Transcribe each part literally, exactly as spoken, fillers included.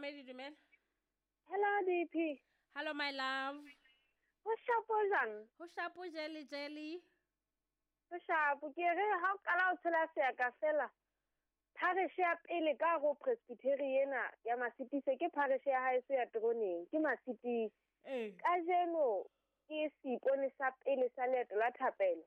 Momamedi, dumela. Hello D P. Hello my love. Ho shapo jwang? Ho shapo jelly jelly. Ho shapo ke re ha o qala o tshela seaka fela. Parish ya pele ka go Presbyterian ena ya Masitise ke parish ya haeso ya Troneng ke Masitise. Eh. Kajeno ke seipone sa pele sa leeto la thapelo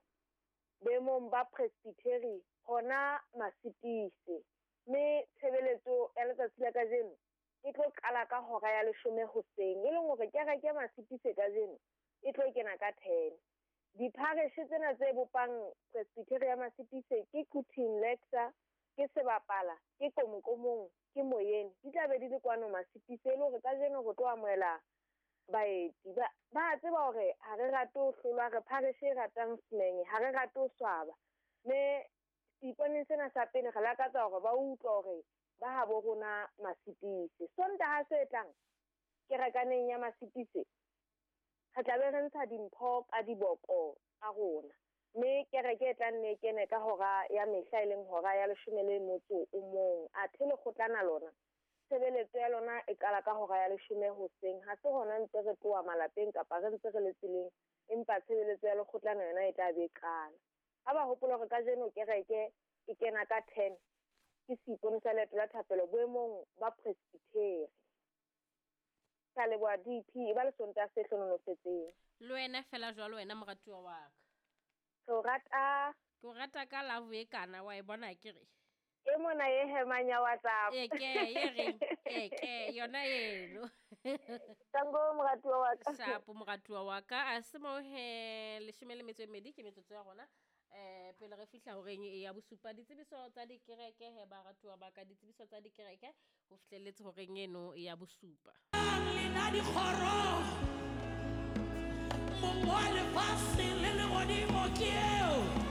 boemong ba Presbyterian hona Masitise. Mme tshebeletso ya letsatsi la kajeno e tlo qala ka hora ya leshome hoseng, e leng hore kereke ya Masitise kajeno e tlo kena ka ten. Diphareshe tsena tse bopang Presbyterian ya Masitise ke Quthing Lexa, ke Sebapala, ke Komokomong, ke Moyeni. Di tla be di le kwano Masitise, e le hore kajeno re tlo amohela baeti. Ba, ba tseba hore ha re rate ho hlolwa, re phareshe e ratang semenge, ha re rate ho swaba. Mme seiponeng sena sa pele re lakatsa hore ba utlwe hore ba habo rona Masitise. Sontaha se tlang kerekaneng ya Masitise re tla be re ntsha dimpho ka diboko tsa rona. Mme kereke e tla nne e kene ka hora ya mehla, e leng hora ya leshome le motso o mong. Athe lekgotlana lona tshebeletso ya lona e qala ka hora ya leshome hoseng. Ha se hona ntse re tloha malapeng kapa re ntse re le tseleng, empa tshebeletso ya lekgotlana yona e tla be e qala. Ha ba hopola hore kajeno kereke e kena ka ten, ke seipone sa leeto la thapelo boemong ba Presbyterian. Ka leboha D P, e ba le Sontaha se hlohonolofetseng. Le wena fela jwalo wena moratuwa wa ka. Ke o rata. Ke o rata ka love e kana, wa e bona akere? E mona e hemang ya WhatsApp. E ke, e reng, e ke, yona eno. Tango moratuwa wa ka. Shapo moratuwa wa ka. A se mo he leshome le metso e mmedi ke metsotso ya rona. Eh, pele re fihla horeng e ya bosupa, ditsebiso tsa dikereke he baratuwa ba ka, ditsebiso tsa dikereke ho fihlelletse horeng eno ya bosupa. Lena dikgoro, mong wa lefatshe le lehodimo ke eo.